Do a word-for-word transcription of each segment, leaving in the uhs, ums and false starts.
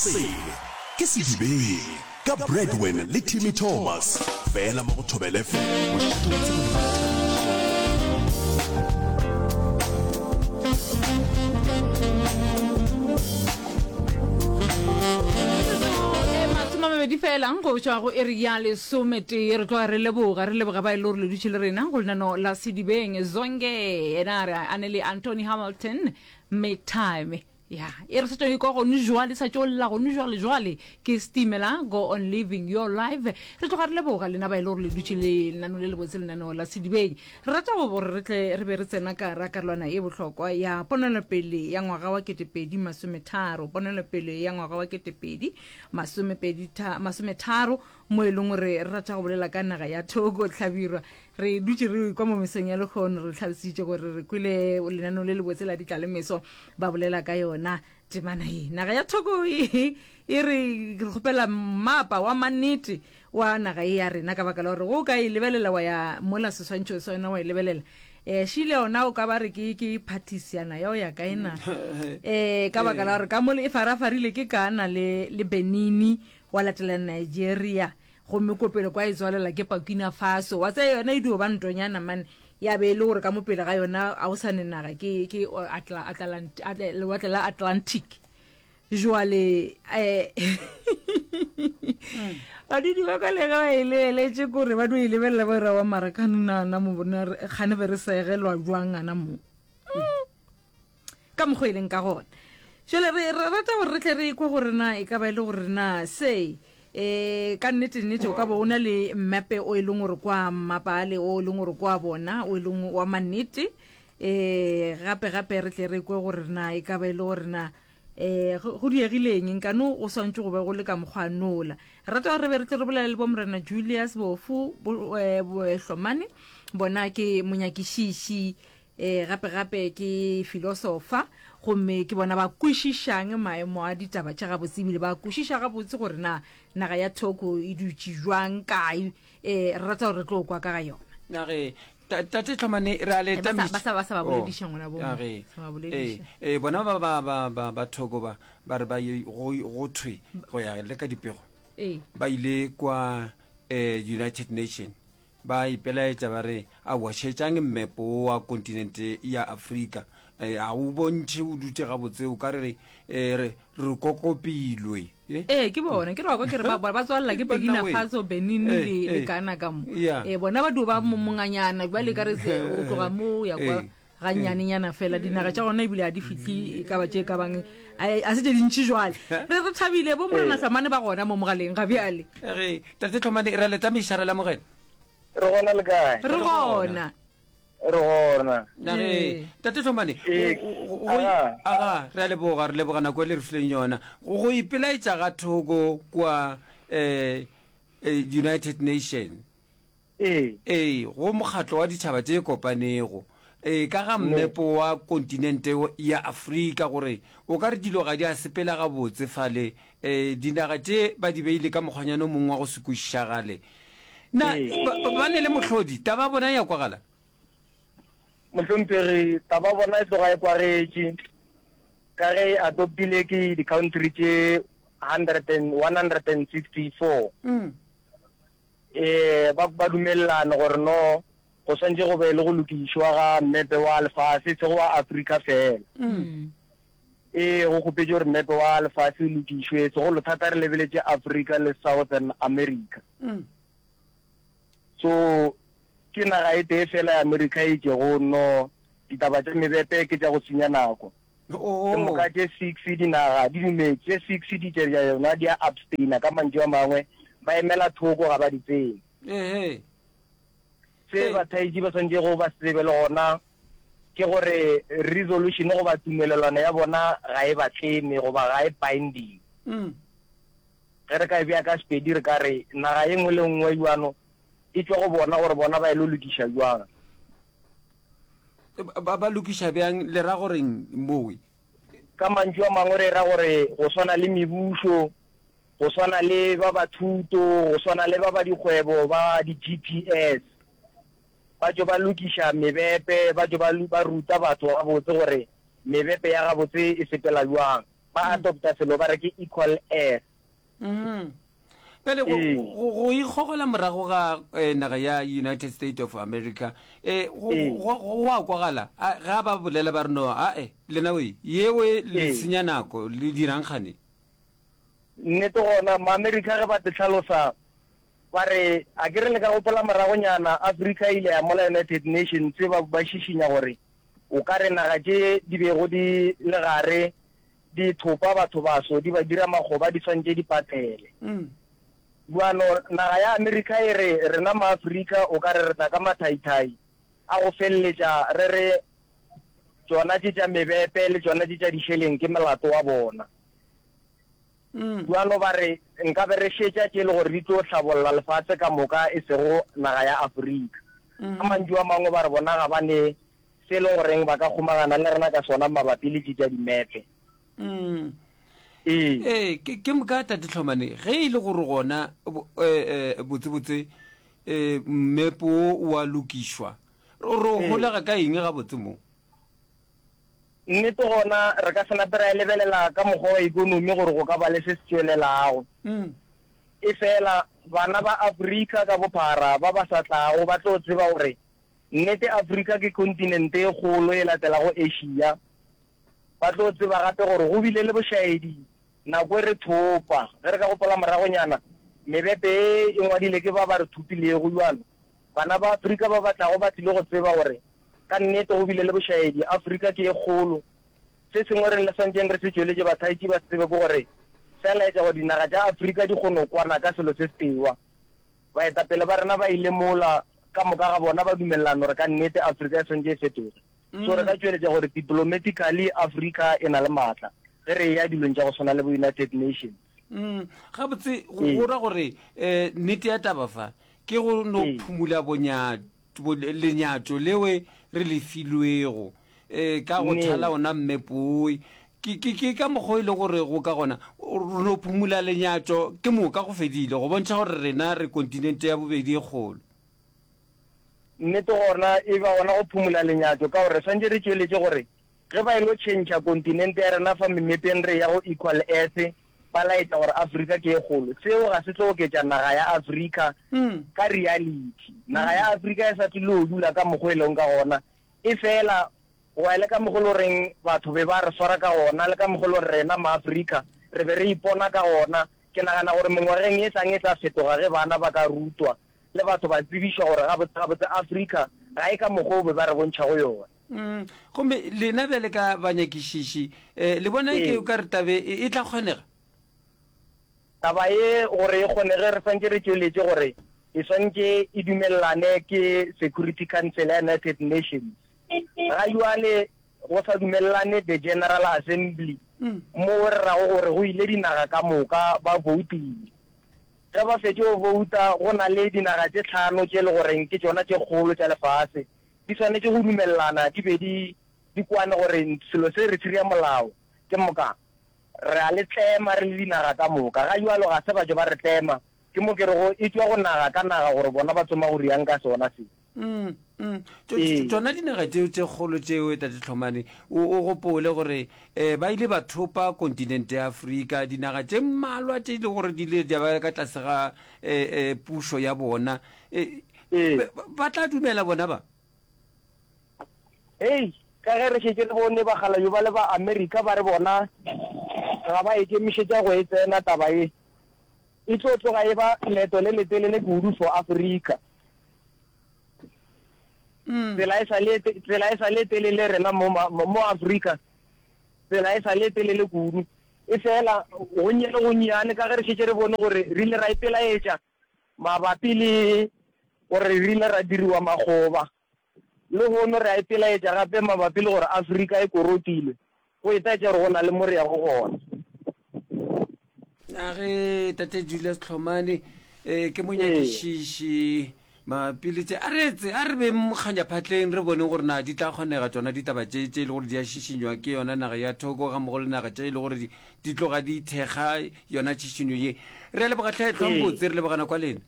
Se ke Sedibeng ka Bradwin le Timmy Thomas fela mo go Thobela F M. Mošate wa tsebo le boithabišo. Masomamabedi fela go tšwa go iri ya lesometee. Re tloga re leboga, re leboga ba e le gore le dutše le rena go lenano la Sedibeng. Zonke yena a re a ne le Anthony Hamilton, Make Time. Ya, e re sa tšo ikwa gone jwale, sa tšo lla gone jwale jwale ke Stimela, Go On Living Your Life. Re tloga re leboga lena ba e le gore le dutše le lenano le lebotse, lenaneo la Sedibeng. Re rata go gore re tle re be re tsena ka ra karolwana e bohlokwa ya ponelopele ya ngwaga wa ketepedi masometharo, ponelopele ya ngwaga wa ketepedi masomepedi tha-, masometharo, mo e leng gore re rata go bolela ka naga ya Togo Hlabirwa. Re dutše re kwa mo mesong ya lekgono, re tlhalositše gore re kwele lenaneo le lebotse la ditlalemeso ba bolela ka yona temana ye. Naga ya Togo e, e re re kgopela mmapa wa mannete wa naga ye ya rena, ka baka la gore go ka e lebelela wa ya mola seswantšho sa yona wa e lebelela. Eh, šile yona o ka ba re ke, ke phathisiana ya o ya kae na? Eh, ka baka la gore ka mole e farafarile ke Ghana le, le Benini, wa latela Nigeria, gomme ko pele kwa e tswalela ke Burkina Faso. Wa tsaya yona e dio ba ntonyana mane, ya be e le gore ka mo pele ga yona a o sa ne naga, ke, ke Atla-, Atlant-, Atla-, lewatle la Atlantic. Jwale, eh, badudi ba ka le ge ba e lebeletše kore ba dio e lebelela ba ira wa mara ka nna, na mo bona re, kgane be re segelwa jwang ana mo? Mm. Ka mokgwa e leng ka gona. Jwale re, re rata gore re tle re kwe gore na e ka ba e le gore na se, eh, ka nnete nnete o ka bo o na le mmepe o e leng gore kwa mmapale, o e leng gore kwa bona, o e leng wa mannete. Eh, gape gape re tle re kwe gore na e ka ba e le gore na, eh, go, go diegile eng, nkane o swantše go be go le ka mokgwa nola. Re rata gore re be re tle re bolele le bo Morena Julius Bofu, bo, eh, bo, eh, Hlomane, bona ke monyakišiši, eh, gape gape ke filosofa, gomme ke bona ba kwešišang maemo a ditaba tša gabotse, ebile ba kwešiša gabotse gore na naga ya Togo e dutše jwang kae. Eh, re rata gore re tlo kwa ka ga yona. Nage, ta-, tate Hlomane, re a le Eh, ba sa, tamiša. ba sa, ba sa ba Oh, bolediša ngwana bo. nage. Sa ba bolediša. Eh, eh, bona ba, ba, ba, ba, ba Togo ba, ba re ba ye, go, go thwe, go ya le ka dipego. Eh. Ba ile kwa, eh, United Nation. Ba ipelaetša ba re, aowa, šetšang mmepo wa kontinente ya Afrika. Eh, a o bontšhe o dutše gabotse, o ka re re, eh, re, re kokopilwe. Eh? Eh, ke bona, ke re wa kwa ke re ba, ba, ba tswalela ke Banna Burkina we. Faso, Benin Eh, le, le eh. Ghana ka mo. Yeah. Eh, bona ba dio ba mo monganyana, bjale ka re se, o tloga mo o ya kwa Eh. gannyanenyana fela. Dinaga tša gona ebile ha di fihle e ka ba tše ka bang, a, a se tše dintši jwale. Re, re thabile bo Morena Eh. Hlomane ba gona mo mogaleng ga bjale. Re, tate Hlomane, re a le tamiša, re lamogela. Re gona le kae? Re gona. Re gona. Na re, Ee. tate Hlomane, Ee, go, go, go, aga. aga, re a leboga, re leboga nako e le re fileng yona. Go, go ipelaetša ga Togo kwa, eh, eh, United Nation. Ee. Ee, go mokgatlo wa ditšhaba tše kopanego. Ee, ka ga mmepo wa kontinente ya Afrika, gore o ka re dilo ga di a sepela gabotse fale. Eh, dinaga tše ba di beile ka mokgwanyana o mongwe wa go se kwešišagale. Na, Ee. ba, ba, ba ne le mohlodi, taba ya bona ya kwagala? Mohlomphegi, taba ya bona e tloga e kwagetše, ka ge e adoptile ke di-country tše hundred and, one hundred and sixty-four. Mm. Eh, ba, ba dumelelane gore no, go swantše go be le go lokišwa ga mmepe wa lefase, e sego wa Afrika fela. Mm. Ee, go kgopetše gore mmepe wa lefase o lokišwe, segolo thata re lebeletše Afrika le Southern America. Mm. So, ke naga e tee fela ya Amerika e itšego no, ditaba tša mebepe ke tša go senya nako. Oh. Ke moka tše six dinaga di dumetše, tše six di tše tša yona di a abstaina, ka mantšu a mangwe ba emela thoko, ga ba di tsene. Ehe. Se Ee. bathaetši ba swanetšego ba se tsebe le gona ke gore resolution goba tumelelano ya bona ga e ba tleme goba ga e binding. Mm. Ge re ka e bea ka Sepedi re ka re naga ye nngwe le nngwe bjano e tšwa go bona gore bona ba e lo lokiša bjang. Ba, ba lokiša bjang, le ra goreng mowe? Ka mantšu a mangwe re ra gore go swana le mebušo, go swana le ba ba thuto, go swana le ba ba dikgwebo ba di-G P S, ba tšo ba lokiša mebepe, ba tšo ba, ba ruta batho gabotse gore mebepe ya gabotse e sepela bjang. Ba adopta selo ba re ke equal earth. Mm. Bjale go, Ee. go, go ikgogela morago ga eh, naga ya United States of America eh, go, Ee. go, go, go a kwagala A, ga ba bolela ba re no ae lena we yewe le Ee. senya nako le dirang kgane Nnete gona Maamerika ge ba te hlalosa ba re a ke re le ka gopola moragonyana Afrika e ile ya mola United Nations ba ba šišinya gore o ka re naga tše di bego di le gare di thopa batho baso di ba dira makgoba di swantše di patele. Mm. Bjalo naga ya Amerika e re rena Maafrika o ka re re tla ka mathaithai a go feleletša re re tšona tše tša mebepe le tšona tše tša dišeleng ke melato wa bona. Mm. Bjalo ba re nkabe re šetša tše e le gore di tlo hlabolla lefase ka moka e sego naga ya Afrika. Ka mantšu a mangwe ba re bona ga ba ne se e leng goreng ba ka kgomagana le rena ka sona mabapi le tše tša dimepe. Mm. Ee. Ee, ke, ke moka Tate Hlomane, ge e le gore gona bo, eh, eh, botsebotse eh, mmepo wo o a lokišwa, ro, ro Ee. holega ka eng gabotse mo? Nnete gona re ka se nape ra e lebelela ka mokgwa wa ekonomi gore go ka ba le se se tšwelelago. Mm. Efela bana ba Afrika ka bophara ba ba sa tlago ba tlo tseba gore nnete Afrika ke kontinente e kgolo e latelago Asia. Ba tlo tseba gape gore go bile le bošaedi nako e re thopa. Ge re ka gopola moragonyana, mebepe ye e ngwadile ke ba ba re thopilego. Bjalo bana ba Afrika ba ba tlago ba tlile go tseba gore ka nnete go bile le bošaedi. Afrika ke ye kgolo. Se sengwe re le swantšeng re se tšweletše bathaetši ba se tsebe ke gore se a laetša gore dinaga tša Afrika di kgone go kwana ka selo se setewa. Baetapele ba rena ba ile mola ka moka ga bona ba dumelelana gore ka nnete Afrika e swantše e fetoge. So re ka tšweletša gore diplomatically Afrika e na le maatla ge re eya dilong tša go swana le bo United Nations. Mm, gabotse go Ee. go ra gore um nnete ya taba fa ke go no Ee. phumula bonya, bo, lenyatšo lewe re le filwego um ka go Nnete. thala ona mmepoe. Ke, ke, ke ka mokgwa o e le gore go ka gona re no phumula lenyatšo ke moka go fedile, go bontšha gore rena re kontinente ya bobedi e kgolo. Nnete gona e ba gona go phumula lenyatšo ka gore re swantše re tšweletše gore ge ba ilo tšhentšha kontinente ya rena fa memepeng re ya go equal earth ba laetša gore Afrika ke e kgolo. Seo ga se tlo oketša naga ya Afrika Mm. ka reality. Naga ya Afrika e sa tlile go dula ka mokgwa e leng ka gona, e fela go ya le ka mokgwa e le goreng batho be ba re swara ka gona le ka mokgwa e le gore rena Maafrika re be re ipona ka gona. Ke nagana gore mengwageng e tlang e tla fetoga ge bana ba ka rutwa le batho ba tsebišwa gore gabotse gabotse Afrika ga e ka mokgwa o be ba re bontšhago yona. Mm. Gomme lena bjale ka banyakišiši eh, le bona ke Ee. o ka re tabe e, e tla kgonega? Taba ye gore e kgonege re swantše re tšweletše gore e swantše e dumelelane ke Security Council ya United Nations. Ga jwale go sa dumelelane the General Assembly Mm. mo re rago gore go ile dinaga ka moka ba voutile. Ge ba fetše go vouta go na le dinaga tše tlhano tše le goreng ke tšona tše kgolo tša lefase di swanetše go dumelelana di be di di kwane gore selo se re tshiriya molao ke moka re a le tlema re le dinaga ka moka. Ga jwalo ga se ba tšo ba re tlema, ke mo ke rego e tšwa go naga ka naga gore bona ba tsoma go riang ka sona se. Mm, mm. Tšo- Ee. Tšona dinaga tšeo tše kgolo tšeo Tate Hlomane, o, o gopole gore eh, ba ile ba thopa kontinente ya Afrika, dinaga tše mmalwa tše e le gore di ile di ba ka tlase ga eh, eh, pušo ya bona. Eh, Ee. ba, ba tla dumela bona ba? Hei, ka ge re šetše re bone bakgalabje ba le ba Amerika ba re bona ga ba ikemišetša go e tsena taba ye, e tlo tloga e ba leeto le letelele kudu for Afrika. Mm. Tsela e sa le tsela e sa le telele rena mo ma- mo mo Afrika, tsela e sa le telele kudu. E fela gonnye le gonnyane ka ge re šetše re bone gore re ile ra ipelaetša mabapi le gore re ile ra diriwa makgoba. Le hono re a ipelaetša gape mabapi le gore Afrika e korotilwe, go etaetša gore go na le mo re yago gona. A ge Tate Julius Hlomane eh, ke monyakišiši mabapi le tše, a re etse a re beng mokganyaphatleng re boneng gore na di tla kgonega tšona ditaba tše tše e le gore di a šišinywa ke yona naga ya Thoko ga mmogo le naga tše e le gore di, di tloga di thekga yona tšhišinyo ye. Re a leboga tlhe, hlwang Ee. botse, re lebogana kwa lena.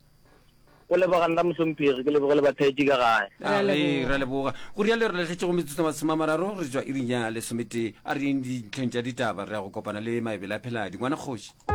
Go leboga nna mohlomphegi, ke leboge le batheetši ka gae. Re a A re, leboga. re a leboga. Go rialo re lahletše go metsotso masome a mararo re tšwa iring ya lesometee. A re yeng dintlheng tša ditaba, re ya go kopana le Maebele a Pheladi. Ngwana kgoši.